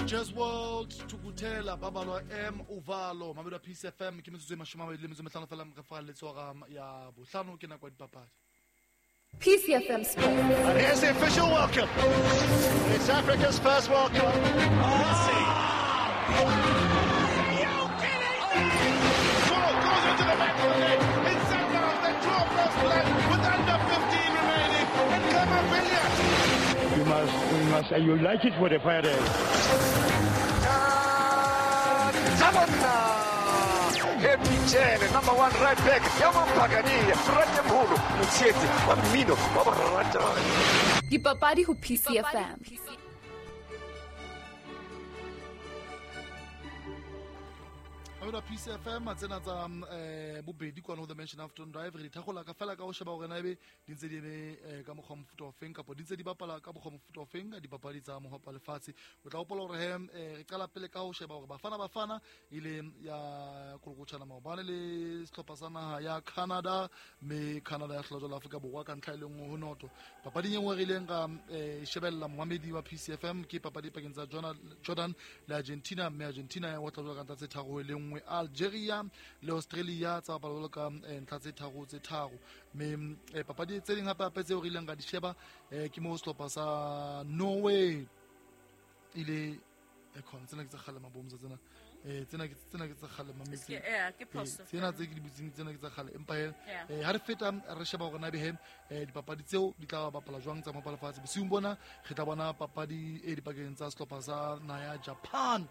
Jazz World Tukutela Babalwa M Uvalo Mamelodi Peace FM ke metsotso e 25 fela re fa letsoga ya bohlano ke nako ya dipapadi. Peace FM Sports. And here's the official welcome. It's Africa's first World Cup. Messi. Are you kidding me? Ball goes into the back of the net. It's Sundowns that draw first blood with under 15 remaining. And Camavinga. You must, and you like it for the fire. Happy number one right back. Yamampagani, Ratemholo, Motshetse, wa mmino, wa borata. Dipapadi ho PCFM. Mamelodi Peace FM tsena tsa bobedi kwana ho the Mansion Afton Drive re dithagola ka fela ka ho sheba hore na ebe di ntse di eme ka mokgwa mofuta o feng kapa di ntse di bapala ka mokgwa mofuta o feng ka dipapadi tsa mohopa lefatshe. O tla hopola hore re qala pele ka ho sheba hore Bafana ile ya kolokotjhana maobane le sehlopha sa naha ya Canada, mme Canada ya hlola jwalo Afrika Borwa ka ntlha e le nngwe ho noto. Papading e nngwe re ileng ra shebella momamedi wa Peace FM ke papadi pakeng tsa Jordan le Argentina, mme Argentina ya otla jwalo ka ntlha tse 3 ho 1. Algeria le Australia tsa bapala jwalo ka ntlha tse 3-3. Mme papadi tse ding hape hape tseo re ileng ra di sheba ke mo sehlopha sa Norway ile khona tsena ke tsa kgale mabomza tsena tsena ke tsa kgale mametsi tsena tse ke di butseng tsena ke tsa kgale empa ha re feta re sheba hore na be dipapadi tseo di tla bapala jwang tsa mapala fatshe. Bosiung bona re tla bona papadi e dipakeng tsa sehlopha sa naha ya Japan.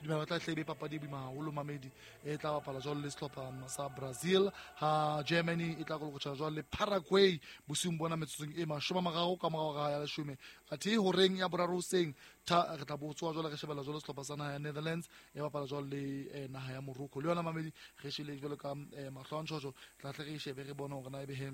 Dumela tla hlebe papadi e boima haholo mamedi e tla bapala jwalo le sehlopha sa Brazil, ha Germany e tla kolokotjha jwalo le Paraguay bosiung bona metsotsong e 30 ka morao ga ya 10. Athe horeng ya boraro hoseng re tla botswa jwalo re shebella jwalo sehlopha sa naha ya Netherlands e bapala jwalo le naha ya Morocco. Le yona mamedi re shebile jwalo ka mahlo a ntjhotjho, tla tle re shebe re bone hore na ebe he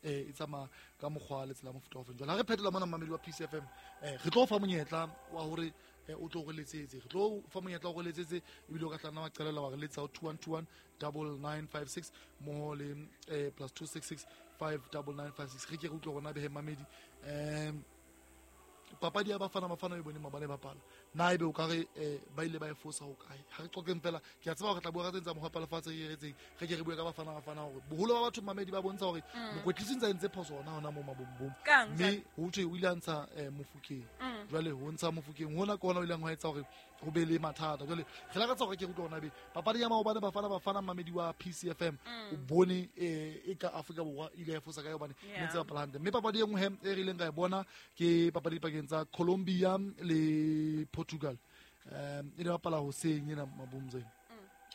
e tsamaya ka mokgwa le tsela mofuta o feng. Jwale ha re phetola mona mamedi wa Peace FM re tlo fa monyetla wa hore o tlo re letsetse, re tlo fa monyetla wa re letsetse ebile o ka tla nna wa qelela wa re letsa 2121 9956 mmoho le plus 266 59956. Re ke re utlwe rona behe mamedi papadi ya Bafana e bone mabane bapala na ebe o ka re ba ile ba e fosa ho kae. Ha re qoqeng fela, ke a tseba hore re tla bua ka tse tsa mohopa lefatshe re retseng, re ke re bue ka Bafana hore boholo ba batho mamedi ba bontsha hore mokwetlisi ntse a entse phoso hona mo mabombong, mme ho thwe o ile a ntsha Mofokeng. Jwale ho ntsha Mofokeng hona ke hona o ileng ho etsa hore ho be le mathata. Jwale re lakatsa hore ke utlwe hona be papadi ya maobane Bafana mamedi wa PCFM o bone e ka Afrika Borwa ile ya fosa kae hobane ne ntse bapala hantle. Mme papadi e nngwe e re ileng ka e bona ke papadi pakeng tsa Colombia le Portugal. E ne bapala hoseng ena mabomzeng.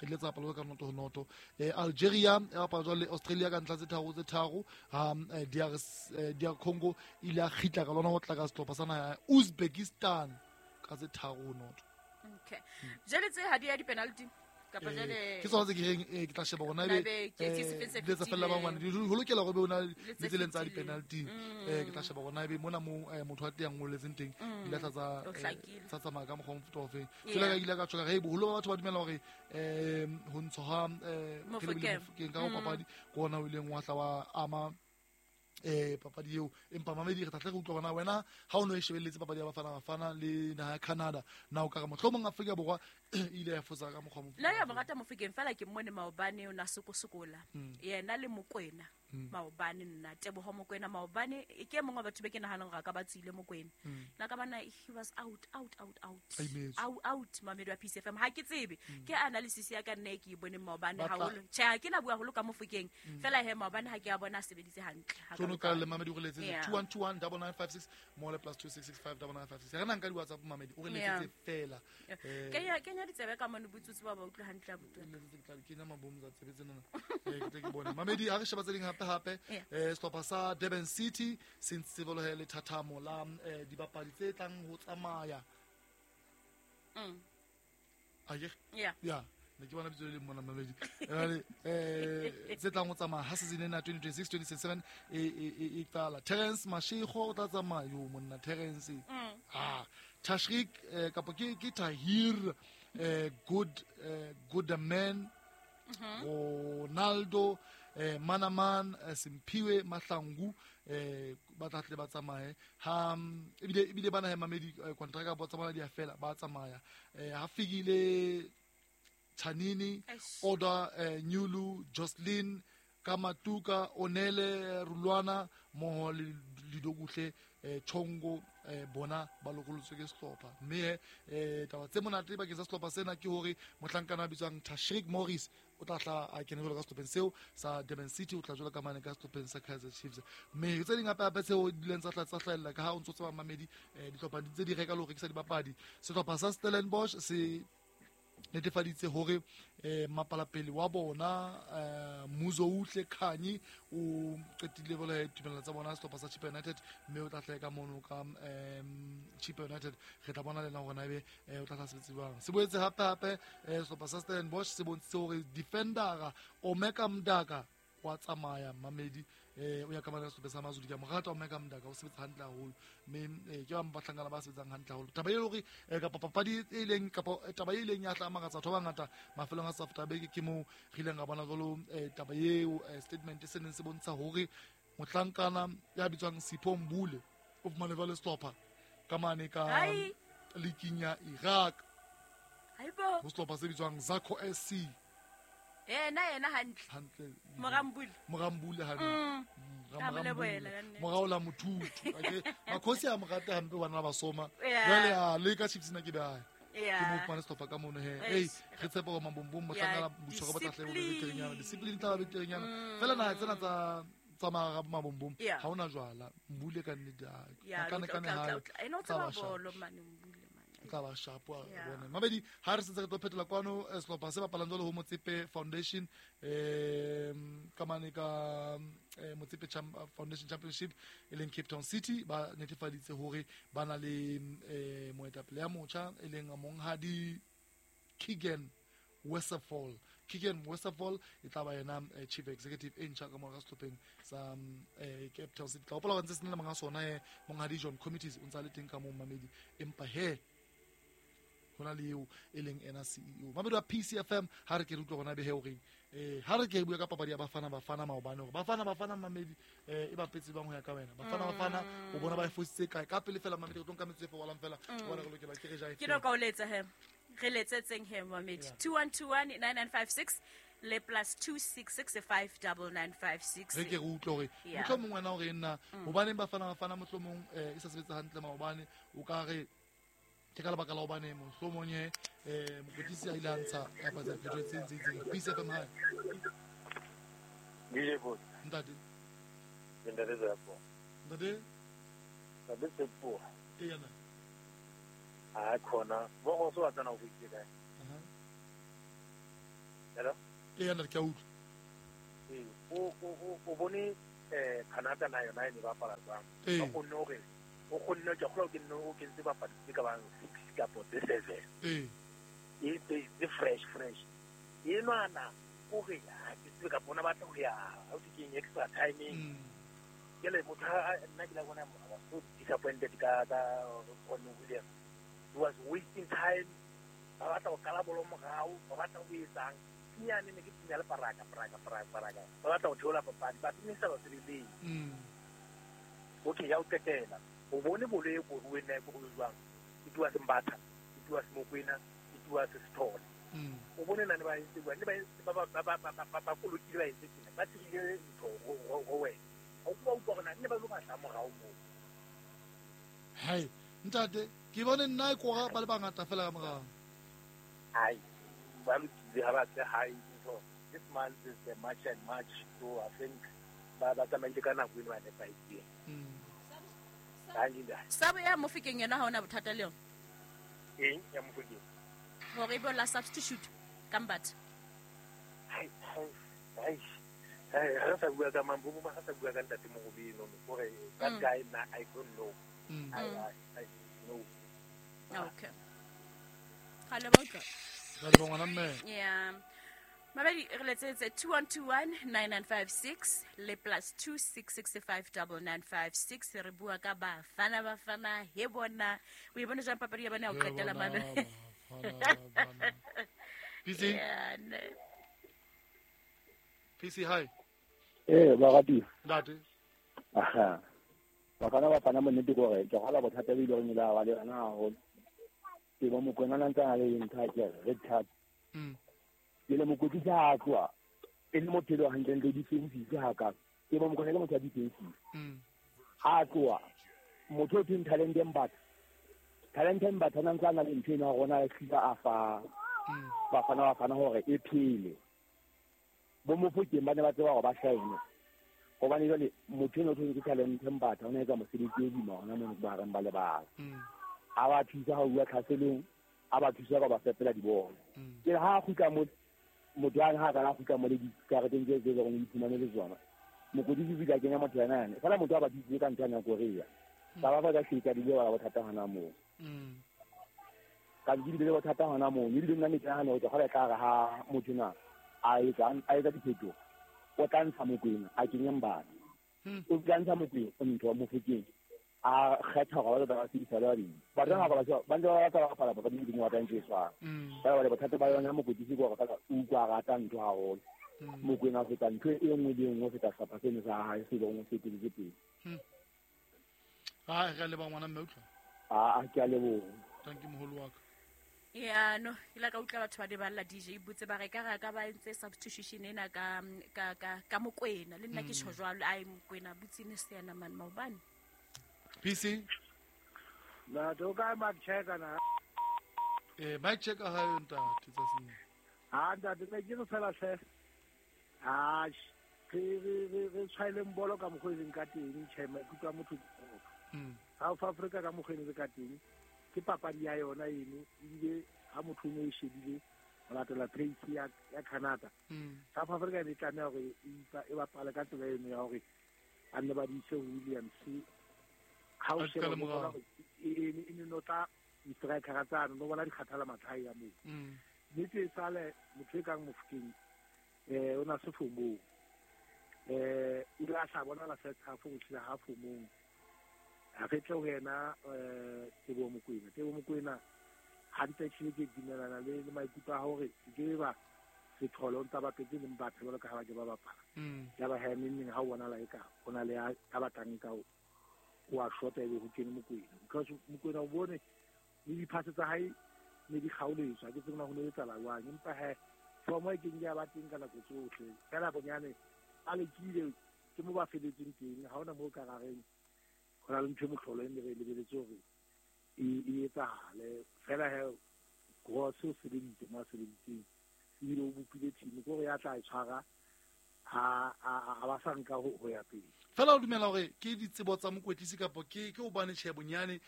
E ile tsa bapala ka 0-0. Algeria e bapala jwale le Australia ka ntlha tse 3-3. Ha DR Congo ile a kgitla ka lona ho tla ka sehlopha sa naha ya Uzbekistan ka tse 3-0. Okay. Jwale tse ha di ya di penalty kapa jwale ke tsona tse ke reng ke tla sheba hore na ebe di tsa fella ba ngwana di ho lokela hore be ona le tseleng tsa di penalty. Ke tla sheba hore na ebe mona mo motho a teng ngoletseng teng di la tsa tsa tsamaya ka mokgwa mofuta o feng. Jwale ka ile ka tjho ka re boholo ba batho ba dumela hore ho ntsho ha Mofokeng ka papadi ke ona o ileng wa tla wa ama papadi eo. Empa mamedi re tla tle re utlwa hore wena ha o no e shebelletse papadi ya Bafana le naha ya Canada na o ka re mohlomong Afrika Borwa ile ya fosa ka mokgwa mofuta. Nna ya morata Mofokeng fela ke mmone maobane o na sokosokola yena le Mokwena maobane nna Teboho Mokwena maobane ke mongwe wa batho be ke nahanang hore a ka ba tswile Mokwena nna ka bana he was out mamedi wa Peace FM. Ha ke tsebe ke analysis ya ka nna e ke e boneng maobane haholo. Tjhe ha ke na bua haholo ka Mofokeng fela he maobane ha ke a bona a sebeditse hantle. Tsono ka le mamedi o re letsetse 2121 9956 mole plus 2665 9956. Re nang ka di WhatsApp mamedi o re letsetse fela. Kenya ditsebe ka mone botsotsi ba utlwe hantle abuti. Kenya mabomza tsebe tsena. Ke tle ke bone. Mamedi ha re sheba tse ding hape sehlopha sa Durban City se ntse bolohe le thathamo la dibapadi tse tlang ho tsamaya. Aye. Yeah. Ne ke bona bitso le mona mamedi. Tse tlang ho tsamaya ha season ena 2026-2027 e qala. Terence Mashego o tla tsamaya yo monna Terence. Tashrik kapa ke Tahir Good Goodman Ronaldo Manaman Simphiwe Mahlangu ba tla tle ba tsamaye ha ebile bana he mamedi contract ba tsamaya di a fela ba tsamaya ha fikile Chanini Oda Nyulu Jocelyn Kamatuka Onele Rulwana moho le Lidokuhle Chongo bona ba lokolotswe ke sehlopha mme taba tse monate bakeng sa sehlopha sena ke hore mohlankana a bitswang Tashrik Morris o tla tla a kene jwalo ka sehlopheng seo sa Durban City, o tla jwalo ka mane ka sehlopheng sa Kaizer Chiefs. Mme tse ding hape hape tseo di ileng tsa hlahella ka ha o ntso tseba mamedi dihlopha di tse di reka le ho rekisa dibapadi. Sehlopha sa Stellenbosch se netefaditse hore mapalapele wa bona Muzouhle Khanyi o qetile jwale tumellano tsa bona sehlopha sa Chippa United, mme o tla hlaha ka mono ka Chippa United. Re tla bona le nna hore na ebe o tla tla sebetse jwang. Se boetse hape hape sehlopha sa Stellenbosch se bontshitse hore defendera Omeka Mdaka wa tsamaya mamedi o ya ka mane sehlopha sa Mazulu. Ke a mo rata Omeka Mdaka, o sebetsa hantle haholo mme ke ba bahlankana ba sebetsang hantle haholo. Taba e le hore kapa papadi e leng kapa taba e leng ya tla makatsa batho ba bangata mafelong a South Africa ke moo re ileng ra bona jwalo taba eo statement se neng se bontsha hore mohlankana ya bitswang Sipho Mbule o fumane jwale sehlopha ka mane ka leaking ya Iraq ho sehlopha se bitswang Zakho SC. Yena hantle Morambule hantle moraola mothutu makhosi a mo rata hampe bana ba soma jwale a le ka Chiefs na ke bae ke mo fumane sehlopha ka mono he ei re tshepa hore mabombong mohlankana botshwaro ba tla hle bo beterenyana discipline tla ba beterenyana fela naha tsena tsa mabombong ha ona jwala Mbule ka nnete kana ha tla ba sharp wa bona mabedi ha re sentse re tlo phetola kwano sehlopha se bapalang jwalo ho Motsepe Foundation ka mane ka Motsepe Foundation Championship e leng Cape Town City ba netefaditse hore ba na le moetapele ya motjha e leng monghadi Keegan Westerfall. Keegan Westerfall e tla ba yena chief executive e ntjha ka mora sehlopheng sa Cape Town City. Tla hopola hore ntse se na le monga sona monghadi John Committees o ntsa le teng ka moo mamedi, empa he hona le eo e leng ena CEO mamedi wa PCFM. Ha re ke re utlwa gona be he horeng ha re ke bua ka papadi ya Bafana Bafana maobane hore Bafana Bafana mamedi e bapetse bang ho ya ka wena Bafana Bafana o bona ba e fositse kae ka pele fela mamedi re tlo nka metsotso e fokolang fela bona re lokela ke re ja ke no ka o letsa he re letsetseng he mamedi 2121 9956 le plus 266599956 re ke re utlwe hore mohlomong wena hore nna hobaneng Bafana Bafana mohlomong e sa sebetsa hantle maobane o ka re ke ka lebaka la hobane mohlomong mokwetlisi a ile a ntsha kapa tsa phetho tse ntse itseng. PCFM hi DJ Boss ntate ntate Tsepo ntate ntate Tsepo e yana a khona bo go so tsana go itse kae hello e yana ke a utlwa o bone Canada na yona e ne ba bapala jwang ba kgonne hore o kgonne ke kgolo ke nne o kentse bapadi tse ka bang 6 kapa tse 7 e tse fresh e nwana o re ha ke tsebe ka bona batla ho ya ha o ke extra timing ke le motho nna ke la bona I was so disappointed ka Ron Williams. He was wasting time ba batla ho kala bolo morao ba batla ho etsang nyane ne ke tsenya le paraka ba batla ho theola papadi ba tsenisa ba sebeleng okay ya o qetela o bone bolo e koruwe nna e koruwe jwang e tua Sembatha e tua Semokwena e tua Sesithole o bone nane ba entse jwang ne ba kolokile ba entse tjena ba tsebile ntho ho wena ha o ba utlwa hore na ne ba lo batla morao moo hai ntate ke bone nna e kora ba le bangata fela ka morao ai ba lokile ha ba tle hae ntho this month is the March and March, so I think ba tsamaile ka nako eno ba nepahetseng. Sabo ya Mofokeng yona ha ona bothata le yona eng ya Mofokeng hore e be la substitute ka Mbatha hai re sa bua ka mambo mo ga sa bua ka ntate Mogobe no gore that guy na I don't know. I know. Okay ga le ba utlwa ga le ngwana mme yeah mabedi re letsetse 2121 9956 le plus 26659956 re bua ka Bafana Bafana he bona o e bona jang papadi ya bana ya ho qetela mane PC PC hi Barati. Ntate. Aha. Bafana monnete ke hore ke kgola bothata bo ile go nyela wa le yona haholo. Ke bo Mokwena na ntse a le ntho ke red card. Ke le mokwetlisi ha a tloha e le motho e le hantlentle defensive ha ka. Ke bo Mokwena ke motho ya defensive. Ha a tloha motho o thweng Talente Mbatha. Talente Mbatha na ntse a na le ntho ena ya rona a hlile a fa Bafana hore e phele. Bo Mofokeng ba ne ba tseba hore ba shine. Hobane jwale motho eno o thweng ke Talente Mbatha o ne etsa mosebetsi o boima hona mono bohareng ba lebala. A ba thusa ha bua tlhaselong, a ba thusa ka ba fepela dibolo. Ke ha a kgutla mo motho a ha ka kgutla mo le dikareteng tse tse leng iphumane le tsona. Mokwetlisi o ile a kenya motho yena yane. Fela motho a ba thusitse ka ntho ya Korea. Ba ba ka hleka dile ba bothata hona moo. Ka di le bothata hona moo. Ebile nna ne ke nahana hore ke tla re ha motho na a etsa diphetoho. O tla ntsha Mokwena a kenye Mbatha. O tla ntsha Mokwena o ntho wa Mofokeng. A kgetha hore ba ba sebedisa le ba ding. Batho ba ba ntse ba batla ba bapala papadi e nngwe ntse e tshwana. Ba ba bothata ba yona mokwetlisi ke hore fela o utlwa a rata ntho haholo. Mokwena a feta ntho e nngwe le e nngwe ho feta sehlopha seno sa hae se leng se eteletse pele. Ha re a leboha ngwana mme utlwa. A ke a leboha. Thank you moholo wa ka. Ya no, ke la ka utlwa batho ba di balla DJ botse ba re ka ra ka ba entse substitution ena ka ka ka ka Mokwena le nna ke tjho jwalo ai Mokwena botse ne se yana man maobane. PC Na to ka Mike Checker na. Mike Checker ha yo ntate tsatsing. Ha ntate ne ke re fela hle. Ha re tshwaileng bolo ka mokgwa e leng ka teng tjhe maikutlo a motho. South Africa ka mokgwa e leng ka teng ke papadi ya yona eno ebile ha motho o ne e shebile ho latela pace ya Canada. South Africa e tlameha hore e bapale ka tsela eno ya hore a nne ba di ise Williams ha o sheba e ne no tla di-striker tsano no bona di kgathala matlhae ya moo. Nnete e sale motho e kang Mofokeng o na se fomong. O ile a sa bona la first half ho tlile ha fomong. Ha re tle ho yena Teboho Mokoena. Teboho Mokoena hantle tjhe ke dumelana le maikutlo a hore ke ba sethole o ntsa bapetse le Mbatha jwalo ka ha ba ke ba bapala. Ya ba ha neng ha o bona la eka ho na le a batlang ka o a shota ebe ho kene Mokoena. Because Mokoena o bone le diphase tsa hae ne di kgaoletswa ke tsena ho ne etsahala jwang empa he fomo e keng ya ba teng ka nako tsohle. Fela bonyane a lekile ke mo ba feletseng teng ha hona moo ka rareng ho na le ntho e mohlolo e ne re lebeletse hore e etsahale. Fela he Gross o sebeditse mo a sebeditseng ebile o bopile team ke hore ya tla e tshwara ha ba sa nka ho ya pele. Fela o dumela hore ke ditsebo tsa mokwetlisi kapa ke hobane tjhe bonyane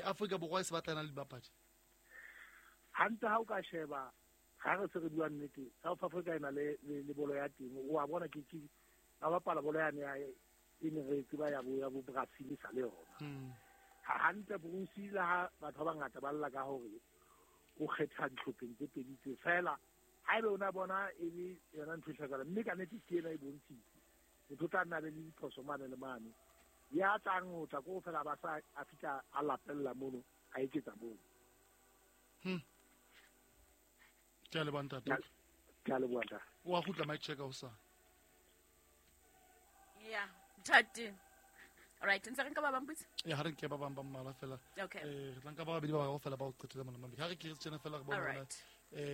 Afrika Borwa e se batlana le dibapadi? Hantle ha o ka sheba ha re se re bua nnete South Africa e na le bolo ya teng o a bona ke ba bapala bolo yane ya e ne re tseba ya bo Brazil sa le yona. Ha hantle Bruce le ha batho ba bangata ba lla ka hore o kgetha dihlopheng tse pedi tse fela haebe o na bona e le yona ntho e hlakahala mme ka nnete ke ena e bontshitse motho o tla nna be le diphoso mane le mane ya tlang ho tla ko fela ba sa a fihla a lapella mono a eketsa mono. Ke a leboha ntate. Ke a leboha ntate. O a kgutla Mike Checker hosane. Yeah, ntate. All right, ntse re nka ba bang botse? Ya ha re nke ba bang ba mmalwa fela. Okay. Re tla nka ba babedi ba bararo fela ba o qetela mona mamedi. Ha re ke re tjena fela re bona hore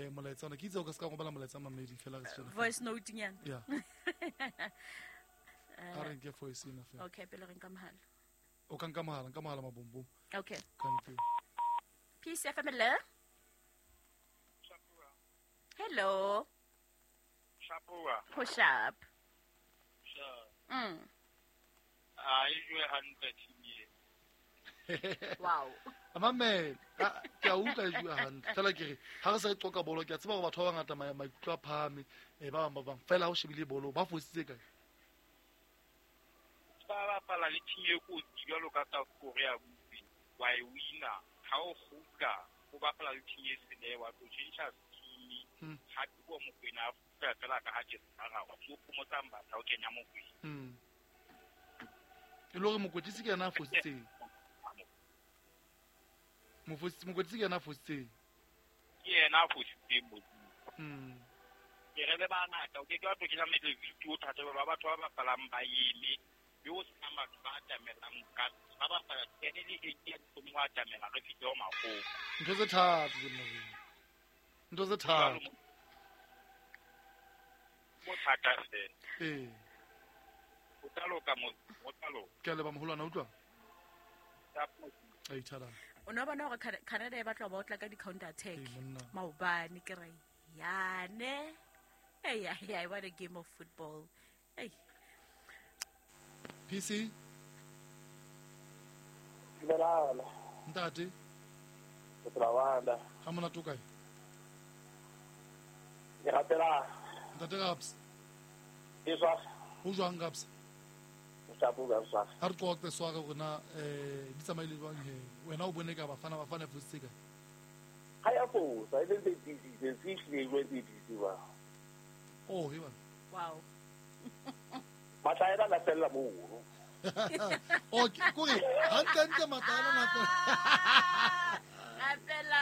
molaetsa ona ke itse o ka se ka robala molaetsa mamedi fela re tjena. Voice note nyana. Yeah. Ha re nke voice ena fela. Okay, pele re nka mohala. O ka nka mohala mabombom. Okay. Thank you. Peace FM hello. Hello. Shapua. Push up. Sure. I enjoy hantle team. Wow. Amame, ke a utlwa e jwa hantle. Fela ke re ha re sa e qoka bolo ke a tseba hore batho ba bangata maikutlo a phahame ba bang ba bang. Fela ha o shebile bolo ba fositse kae? Ba bapala le team e kotsi jwalo ka South Korea botse. Wa e wina ha o kgutla o bapala le team e sele wa tlo change team. Ha ke Mokwena a kgutla fela ka ha ke sara wa tlo phomotsa Mbatha o kenya Mokwena. E le hore mokwetlisi ke yena a fositseng. Mokwetlisi ke yena a fositseng. Ke yena a fositseng Modimo. Re le bangata o ke ke wa tlo kenya medleviti o thata ba batho ba bapalang ba eme le o sena batho ba atamelang ka ba bapala 10 le 8 ya tsomo wa atamela re fihle ho makgopo. Ntho tse thata tse ntho tse thata. Mo thata fela. Ee. O tla loka mo, o tla loka. Ke a leboha moholwana, utlwa? Ai thata. O no bona hore Canada e batla ho ba otla ka di-counter attack. Maobane ke re yane. Hey, yeah, what a game of football. Hey. PC? Dumela. Ntate. Ke tla Ha monate o kae? Ke rapela. Ntate Raps. E swa. Ho jwang Raps? Ha re qoqe sware rona di tsamaile jwang he? Wena o bone ka Bafana Bafana fositse kae? Ha ya fosa, e le tse tse ba. Oh, he bana. Wow. Matlaela la fella moo. Oh, kore hantle matlaela na fella. La fella.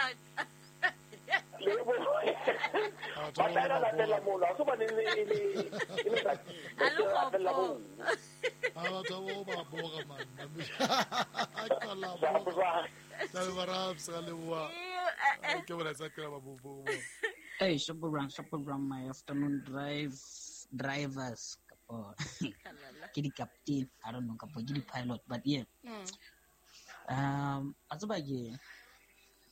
Matlaela la fella moo, la so bane le le la fella moo. Ha batho ba bora man. Ka la bora. Tla ba ra sa le bua. Ke bona tsa kra ba bo. Hey, Shopper, my afternoon drivers, kapo, ke di captain, I don't know, kapo, ke di pilot, but yeah. A tseba ke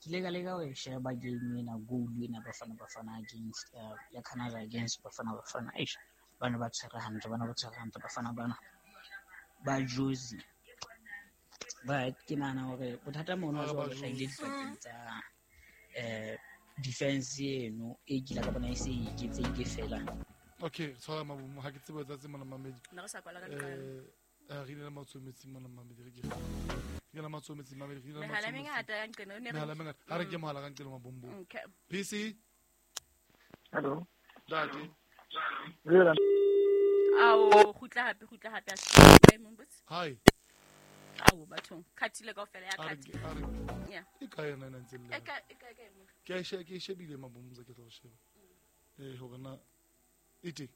ile ka leka ho e sheba game ena, goal ena Bafana Bafana against ya Canada against Bafana Bafana. Eish, bana ba tshwere hantle, Bafana bana ba Jozi. But ke nahana hore bothata mono jwalo bo hlahile dipakeng tsa defense eno e kila ka bona e se iketsehile fela. Okay, tshwara mabomo ha ke tsebe tsa mona mamedi. Nna re sa kwala ka diqalo. Re ile matsometsi mona mamedi re ke. Re ile matsometsi mamedi re ile matsometsi. Mehala mengata ya nqeno ne re. Mehala mengata. Ha re ke mohala ka nqeno mabombo. Okay. PC. Hello. Dati. Re. Ao khutla hape a se mombotsi. Hi. Ao bathong khathile kaofela ya khathi. Yeah. E ka yona ena ntse le. E ka mo. Ke ke shebile mabombo ke tlo sheba. Hore na ite.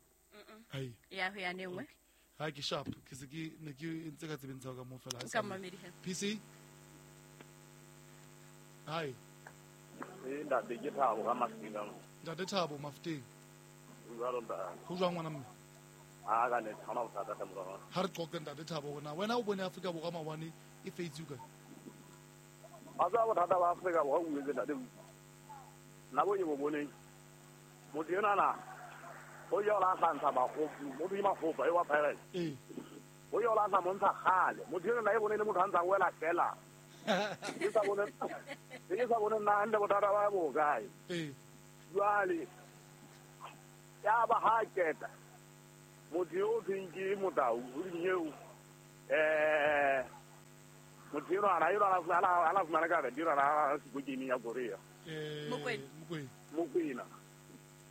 Ai. Ya ho ya nengwe. Ha ke sharp ke se ke ne ke ntse ka tsebeng tsa ka mo fela. Ka mamedi he. PC. Hi. Ntate ke Thabo ka Mafiteng. Ntate Thabo Mafiteng. Ho jwang ngwana mme? A ka ne thana bothata ka morao. Ha re qoqe ntate Thabo hore na wena o bone Afrika Borwa maobane e feitse kae? A tsa bothata ba Afrika Borwa o etse ntate. Nna bo ke bo boneng. Motho enwa na o ya la hlantsha makgopo, motho e makgopo e wa Pirates. O ya la hlantsha montsha kgale. Motho enwa na e bone le motho a ntsa wela fela. Ke sa bone nna hantle bothata ba bo kae. Jwale ya ba ha keta. Motho yo thweng ke Motau o dinyeo motho enwa ana ana fumana ka dira na se game ya Korea.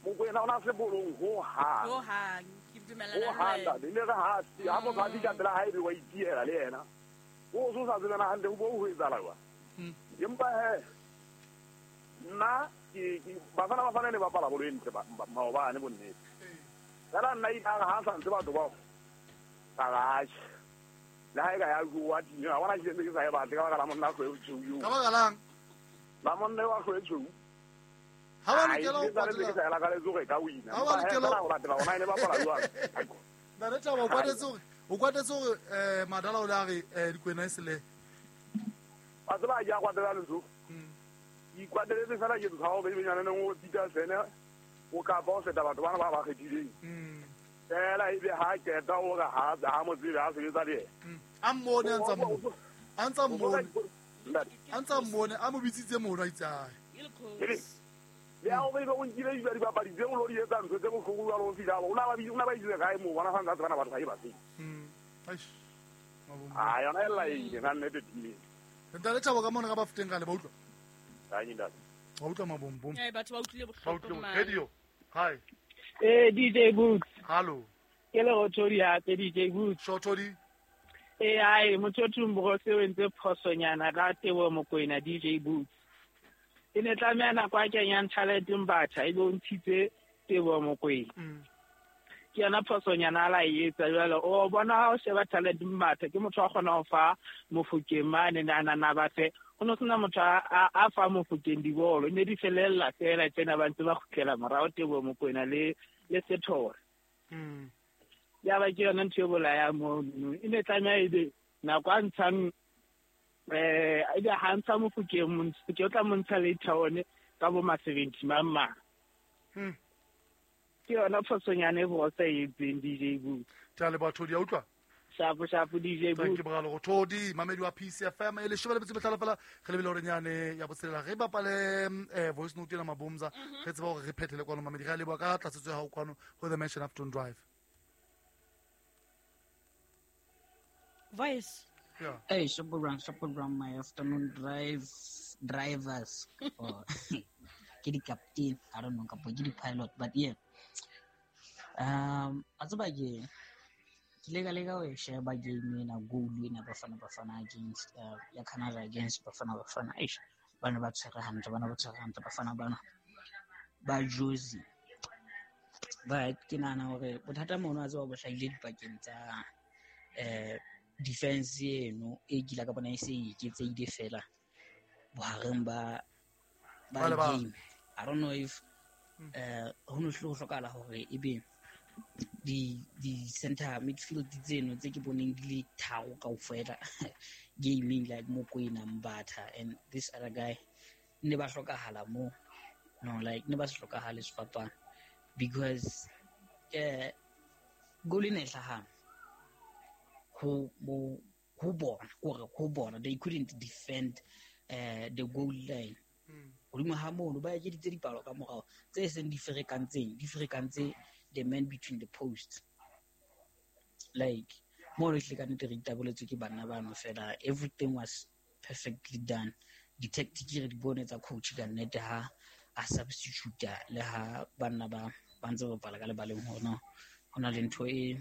Mokwena ona se bolong ho hang ke dumela le wena. Ho le re ha se ha motho a fihla pela hae be wa itiela le yena. O so sa tsebana hantle ho bo ho etsahala jwang. Empa he nna ke Bafana ne bapala bolo e ntle maobane bonnete. Fela nna ile ha sa ntse batho bao ka gae. Le ha e ka ya bua teng ha bona ke ntse ke sa e batle ka baka la monna go e tshweu. Ka baka lang? La monna wa go e tshweu. Ha ba lokela ho patela. Ha ba lokela ho latela ona ene bapala jwang. Ntate Thabo o kwatetse hore Madala o le a re dikwena e sele. Wa tseba ya kwatela lentso. Ikwateletse fela ke tshaba be benyana neng o Peter Sene o ka ba o feta batho bana ba ba kgethileng. Fela ebe ha keta o re ha mo tsebe ha sebetsa le yena. A mmone a ntsa mmone. A ntsa mmone a mo bitsitse mono a itse ae. Le ha o be o nkile dibapadi tse o lo di etsa ntho tse bohloko jwalo ho fihla o na ba itse kae moo bona sa ntse bana batho ba e batseng. Eish. A yona e laile na nnete timeng. Ntate Thabo ka mona ka ba feteng ka le ba utlwa. Ntate. Ba utlwa mabombom. Batho ba utlwile bohloko man. Radio. Hi. DJ Boots. Hello. Ke le Rothodi hape DJ Boots. Shothodi. Ai motho Thumbro se o entse phosonyana ka Teboho Mokoena DJ Boots. E ne tlameha nako a kenyang talent Mbatha e be o ntshitse Teboho Mokoena. Ke yona phosonyana a la e etsa jwale o bona ha o sheba talent Mbatha ke motho a kgona ho fa Mofokeng mane na ba fe ho no sena motho a fa Mofokeng dibolo ne di felella fela tsena ba ntse ba kgutlela morao Teboho Mokoena le Sethore. Ya ba ke yona ntho e bolaya mono e ne tlameha ebe nako a ntshang ebe ha ntsha Mofokeng ke o tla mo ntsha later on ka bo ma 70 mang. Ke yona phosonyana e bosa e etseng DJ Boo. Tja le batho di a utlwa? Shapo shapo DJ Boo. Thank you Mogalo go Thodi mamedi wa PCFM e leshome le metso e mehlano fela re lebile hore nyane ya botshelela re bapale voice note ena Mabomza re tseba hore re phethele kwano mamedi re a leboha ka tlatsetso ya hao kwano ho The Mansion Afton Drive. Voice. Yeah. Hey, Shopper my afternoon drivers or ke di captain, I don't know, kapo ke di pilot, but yeah. A tseba ke ile ka leka ho e sheba game ena goal ena Bafana Bafana against ya Canada against Bafana Bafana. Eish, bana ba tshwere hantle, Bafana bana ba Jozi. But ke nahana hore bothata mono a tseba bo hlahile dipakeng tsa defense eno e kila ka bona e se iketseile fela bohareng ba game. I don't know if ho no hlokahala hore ebe di center midfield tseno tse ke boneng di le tharo kaofela gaming like Mokoena, Mbatha and this other guy ne ba hlokahala mo no like ne ba se hlokahale sefapano because goal ene e hlahang ho bona kore ho bona they couldn't defend the goal line. Hodimo ha mono ba ekeditse dipalo ka morao tse seng di ferekantse the man between the posts. Like mono hle ka nnete re itaboletswe ke banna bano fela, everything was perfectly done. Di-tactic re di bone tsa coach ka nnete ha a substitute le ha banna ba ntse ba bapala ka lebaleng hona ho na le ntho e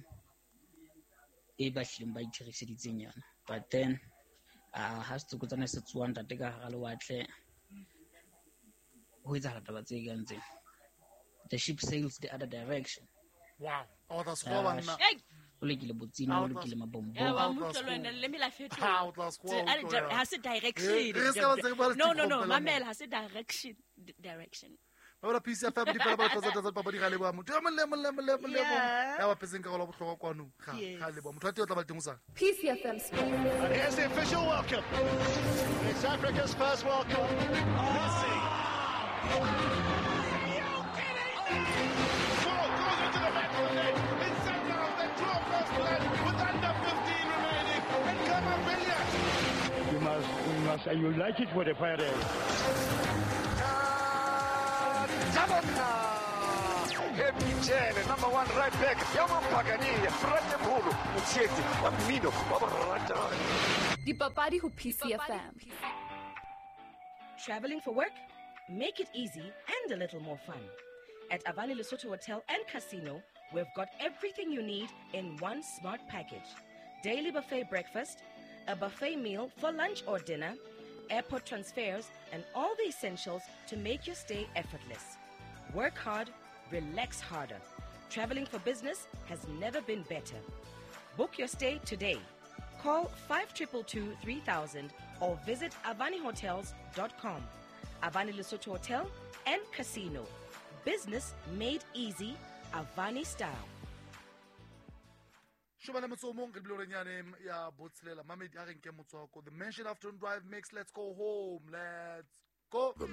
ba hlileng ba itheriseditseng yona. But then ha setsokotsane se tsoang ntate ka hara lewatle ho etsahala taba tse kang tsena. The ship sails the other direction. Wow. Oh, that's banna. O lekile botsina, o lekile mabombo. Ya wa mutlo lwena le me la fetola. Ha se direction. No, mamela ha se direction. Direction. Ba PCFM di fela ba tlatsa papadi ga leboha motho yo mong le mong le mong le mong ya ba phetseng karolo bohlokwa kwano ga leboha motho wa teng o tla ba le teng o sa PCFM Sports. Here's the official welcome. It's Africa's first World Cup. Messi. Are you kidding me? Ball goes into the back of the net. It's set down. The draw first blood with under 15 remaining. And Kamavinga. You must, you like it with the fire there. Happy number one right back. Dipapadi ho PCFM. Traveling for work? Make it easy and a little more fun. At Avani Lesotho Hotel and Casino, we've got everything you need in one smart package. Daily buffet breakfast, a buffet meal for lunch or dinner, airport transfers, and all the essentials to make your stay effortless. Work hard, relax harder. Traveling for business has never been better. Book your stay today. Call 5222 3000 or visit avanihotels.com. Avani Lesotho Hotel and Casino. Business made easy, Avani style. Shobana motso mong re bile nyane ya botshelela mamedi a re nke motswako. The Mansion Afternoon Drive mix. Let's go home. Let's go. The